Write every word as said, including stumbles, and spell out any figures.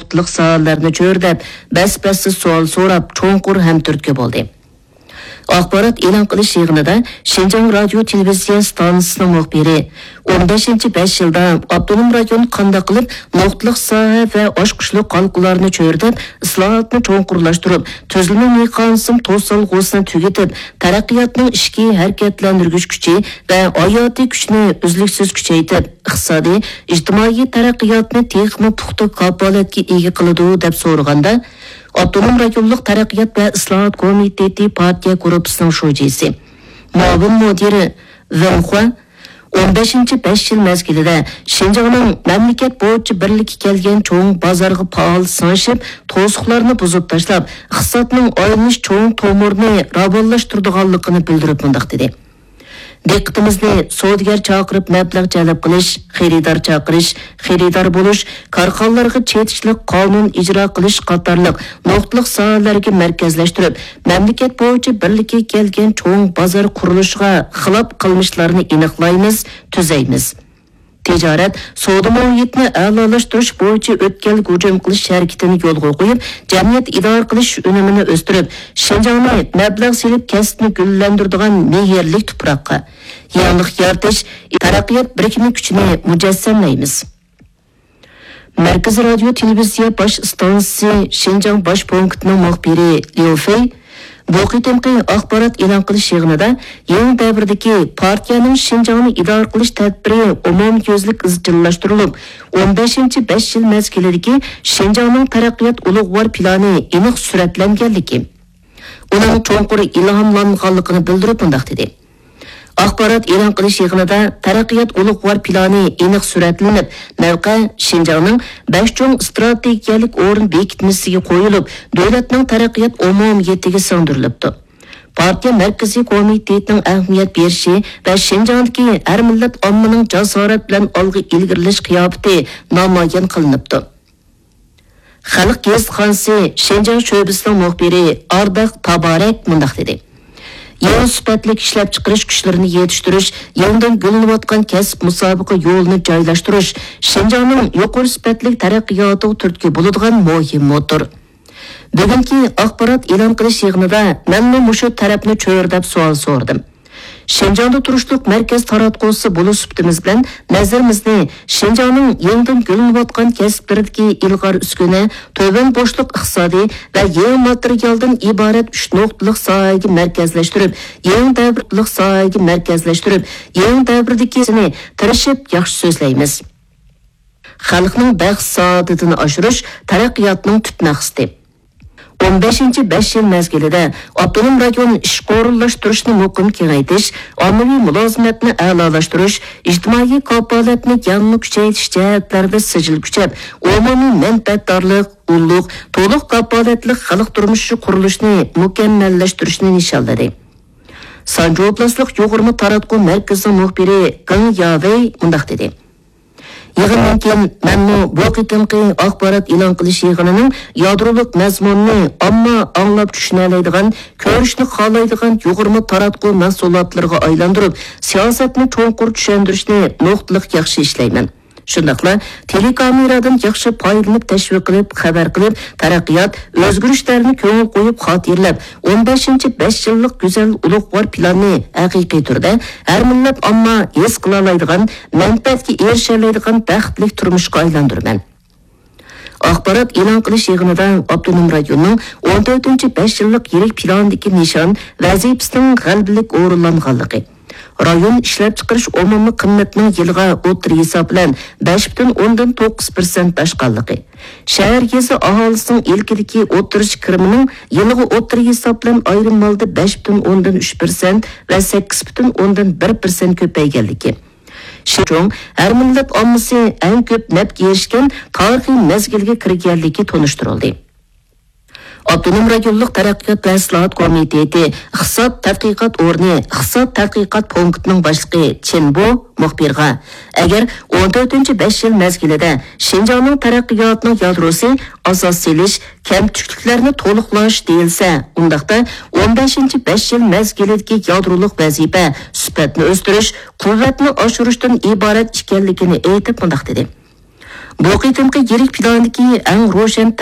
نۇقتىلىق ساھەلەرنى چۆرىدەپ، بەس-بەستە سوئال سوراپ، چوڭقۇر ھەمتۈرتكە بولدى. ئاخبارات ئېلان قىلىش يىغىنىدا شىنجاڭ رادىيو تېلېۋىزىيە ئىستانسىسىنىڭ مۇخبىرى، ئون بەشىنچى بەش يىلدا ئاپتونوم رايون قانداق قىلىپ نۇقتىلىق ساھە ۋە ئاچقۇچلۇق ھالقىلارنى چۆرىدەپ، ئىسلاھاتنى چوڭقۇرلاشتۇرۇپ، تۈزۈلمە مېخانىزم توسالغۇسىنى تۈگىتىپ، تەرەققىياتنىڭ ئىچكى ھەرىكەتلەندۈرگۈچ كۈچى ۋە ھاياتىي كۈچىنى ئۈزلۈكسىز كۈچەيتىپ، ئىقتىسادىي، ئىجتىمائىي تەرەققىياتنى تېخىمۇ پۇختا كاپالەتكە ئىگە قىلىدۇ، دەپ سورىغاندا، ئاپتونوم رايونلۇق تەرەققىيات ۋە ئىسلاھات كومىتېتى پارتىيە گۇرۇپپىسىنىڭ شۇجىسى، مۇئاۋىن مۇدىرى ۋېن خۇا، ئون بەشىنچى بەش يىل مەزگىلىدە شىنجاڭنىڭ مەملىكەت بويىچە بىرلىككە كەلگەن چوڭ بازارغا پائال سىڭىشىپ، توسۇقلارنى بۇزۇپ تاشلاپ، ئىقتىسادنىڭ ئايلىنىش چوڭ تومۇرىنى راۋانلاشتۇرىدىغانلىقىنى بىلدۈرۈپ مۇنداق دېدى: دىققىتىمىزنى سودىگەر چاقىرىپ مەبلەغ جەلپ قىلىش، خېرىدار چاقىرىش، خېرىدار بولۇش، كارخانىلارغا چېتىشلىق قانۇن ئىجرا قىلىش قاتارلىق نۇقتىلىق ساھەلەرگە مەركەزلەشتۈرۈپ، مەملىكەت بويىچە بىرلىككە كەلگەن چوڭ بازار قۇرۇلۇشىغا خىلاپ قىلمىشلارنى ئېنىقلايمىز، تۈزەيمىز. تىجارەت، سودا مۇھىتىنى ئەلالاشتۇرۇش بويىچە ئۆتكەلگە ھۇجۇم قىلىش ھەرىكىتىنى يولغا قويۇپ، جەمئىيەت ئىدارە قىلىش ئۈنۈمىنى ئۆستۈرۈپ، شىنجاڭنى مەبلەغ سېلىپ كەسىپنى گۈللەندۈرىدىغان مېھىرلىك تۇپراققا، يېڭىلىق يارىتىش، تەرەققىيات بىرىكمە كۈچىنى مۇجەسسەملەيمىز. مەركىزىي رادىيو تېلېۋىزىيە باش ئىستانسىسى شىنجاڭ باش پونكىتىنىڭ مۇخبىرى ليۇ فېي بۇ قېتىمقى ئاخبارات ئېلان قىلىش يىغىنىدا يېڭى دەۋردىكى پارتىيەنىڭ شىنجاڭنى ئىدارە قىلىش تەدبىرى ئومۇميۈزلۈك ئىزچىللاشتۇرۇلۇپ، ئون بەشىنچى بەش يىل مەزگىلىدىكى شىنجاڭنىڭ تەرەققىيات ئۇلۇغۋار پىلانى ئېنىق سۈرەتلەنگەنلىكى، ئۇنىڭ چوڭقۇر ئىلھاملانغانلىقىنى بىلدۈرۈپ مۇنداق دېدى: ئاخبارات ئېلان قىلىش يىغىنىدا تەرەققىيات ئۇلۇغۋار پىلانى ئېنىق سۈرەتلىنىپ، مەۋقە شىنجاڭنىڭ بەش چوڭ ئىستراتېگىيەلىك ئورۇن بېكىتمىسىگە قويۇلۇپ، دۆلەتنىڭ تەرەققىيات ئومۇمىيىتىگە سىڭدۈرۈلۈپتۇ. پارتىيە مەركىزىي كومىتېتىنىڭ ئەھمىيەت بېرىشى ۋە شىنجاڭدىكى ھەر مىللەت ئاممىنىڭ جاسارەت بىلەن ئالغا ئىلگىرىلەش قىياپىتى نامايان قىلىنىپتۇ. خەلق گېزىتخانىسى شىنجاڭ شۆبىسىنىڭ مۇخبىرى ئارداق تابارەك مۇنداق دېدى: يېڭى سۈپەتلىك ئىشلەپچىقىرىش كۈچلىرىنى يېتىشتۈرۈش، يېڭىدىن گۈللىنىۋاتقان كەسىپ مۇسابىقە يولىنى جايلاشتۇرۇش شىنجاڭنىڭ يۇقىرى سۈپەتلىك تەرەققىياتىغا تۈرتكە بولىدىغان مۇھىم موتور. بۈگۈنكى ئاخبارات ئېلان قىلىش يىغىنىدا مەنمۇ مۇشۇ تەرەپنى چۆرىدەپ سوئال سورىدىم. شىنجاڭدا تۇرۇشلۇق مەركەز تاراتقۇسى بولۇش سۈپىتىمىز بىلەن نەزىرىمىزنى شىنجاڭنىڭ يېڭىدىن گۈللىنىۋاتقان كەسىپلىرىدىكى ئىلغار ئۈسكۈنە، تۆۋەن بوشلۇق ئىقتىسادى ۋە يېڭى ماتېرىيالدىن ئىبارەت ئۈچ نۇقتىلىق ساھەگە مەركەزلەشتۈرۈپ، يېڭى دەۋرلىك ساھەگە مەركەزلەشتۈرۈپ، يېڭى دەۋردىكىسىنى تىرىشىپ ياخشى سۆزلەيمىز. خەلقنىڭ بەخت-سائادىتىنى ئاشۇرۇش تەرەققىياتنىڭ تۈپ مەقسىتى. ئون بەشىنچى بەش يىل مەزگىلىدە ئاپتونوم رايون ئىشقا ئورۇنلاشتۇرۇشنى مۇقىم كېڭەيتىش، ئاممىۋى مۇلازىمەتنى ئەلالاشتۇرۇش، ئىجتىمائىي كاپالەتنى يەنىمۇ كۈچەيتىش جەھەتلەردە سىجىل كۈچەپ، ئومۇمىي مەنپەئەتدارلىق، ئۇلۇغ، تولۇق كاپالەتلىك خەلق تۇرمۇشى قۇرۇلۇشىنى مۇكەممەللەشتۈرۈشنى نىشانلىدى. سانجى ئوبلاستلىق يۇغۇرما تاراتقۇ مەركىزىنىڭ مۇخبىرى گېڭ ياۋېي مۇنداق دېدى: يىغىندىن كېيىن مەنمۇ بۇ قېتىمقى ئاخبارات ئېلان قىلىش يىغىنىنىڭ يادرولۇق مەزمۇنىنى ئامما ئاڭلاپ چۈشىنەلەيدىغان، كۆرۈشنى خالايدىغان يۇغۇرما تاراتقۇ مەھسۇلاتلىرىغا ئايلاندۇرۇپ، سىياسەتنى چوڭقۇر چۈشەندۈرۈشنى نۇقتىلىق ياخشى ئىشلەيمەن. شۇنداقلا تېلېكامېرادىن ياخشى پايدىلىنىپ، تەشۋىق قىلىپ، خەۋەر قىلىپ، تەرەققىيات، ئۆزگىرىشلەرنى كۆڭۈل قويۇپ خاتىرىلەپ، ئون بەشىنچى بەش يىللىق گۈزەل ئۇلۇغۋار پىلاننى ھەقىقىي تۈردە ھەر مىللەت ئامما ھېس قىلالايدىغان، مەنپەئەتكە ئېرىشەلەيدىغان بەختلىك تۇرمۇشقا ئايلاندۇرىمەن. ئاخبارات ئېلان قىلىش يىغىنىدا ئاپتونوم رايوننىڭ ئون تۆتىنچى بەش يىللىق يىرىك پىلانىدىكى نىشان ۋەزىپىسىنىڭ غەلىبىلىك ئورۇنلانغانلىقى، رايون ئىشلەپچىقىرىش ئومۇمىي قىممىتىنىڭ يىلىغا ئوتتۇرا ھېساب بىلەن بەش پۈتۈن ئوندىن توققۇز پىرسەنت ئاشقانلىقى، شەھەر، يېزا ئاھالىسىنىڭ ئىلكىدىكى ئوتتۇرىچە كىرىمىنىڭ يىلىغا ئوتتۇرا ھېساب بىلەن ئايرىم ھالدا بەش پۈتۈن ئوندىن ئۈچ پىرسەنت ۋە سەككىز پۈتۈن ئوندىن بىر پىرسەنت كۆپەيگەنلىكى، شىنجاڭ ھەر مىللەت ئاممىسى ئەڭ كۆپ نەپكە ئېرىشكەن تارىخىي مەزگىلگە كىرگەنلىكى تونۇشتۇرۇلدى. ئاپتونوم رايونلۇق تەرەققىيات ۋە ئىسلاھات كومىتېتى ئىقتىساد تەتقىقات ئورنى ئىقتىساد تەتقىقات پونكىتىنىڭ باشلىقى چېن بو مۇخبىرغا، ئەگەر ئون تۆتىنچى بەش يىل مەزگىلىدە شىنجاڭنىڭ تەرەققىياتىنىڭ يادروسى ئاساس سېلىش، كەمچۈكلۈكلەرنى تولۇقلاش دېيىلسە، ئۇنداقتا ئون بەشىنچى بەش يىل مەزگىلىدىكى يادرولۇق ۋەزىپە سۈپەتنى ئۆستۈرۈش، قۇۋۋەتنى ئاشۇرۇشتىن ئىبارەت ئىكەنلىكىنى ئېيتىپ مۇنداق دېدى: بۇ قېتىمقى يىرىك پىلاندىكى ئەڭ روشەن